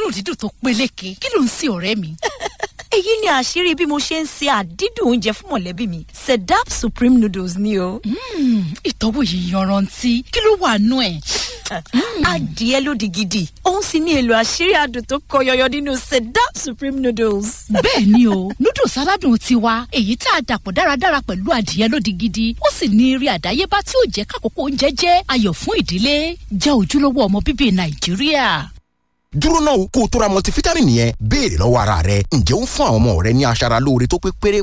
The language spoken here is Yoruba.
Òórùn dídùn tó peléke. Kí ló ń sin, ọ̀rẹ́ mi? Èyí ni àṣírí bí mo ṣe ń ṣe àdídùn oúnjẹ fún mọ̀lẹ́bí mi. Sedap Supreme Noodles ni o. Ìtọ́wò yìí yanrantí. Kí ló wà nú ẹ̀? Adìẹ lódì gidi, òun sì ní èlò àṣírí adùn tó kọ yọyọ nínú Sedap Supreme Noodles. Bẹ́ẹ̀ ni o, noodles aládùn tiwa, èyí tá a dàpọ̀ dáradára pẹ̀lú adìẹ lódì gidi, ó sì ní eré àdáyébá tí ó jẹ́ kákòókò oúnjẹ jẹ́ ayọ̀ fún ìdílé. Jẹ́ ojúlówó ọmọ bíbí Nàìjíríà. Dúró náà, kó o tó ra multivitamin yẹn, béèrè lọ́wọ́ ara rẹ: ǹjẹ́ ó ń fún àwọn ọmọ rẹ ní aṣara lóore tó pé péré?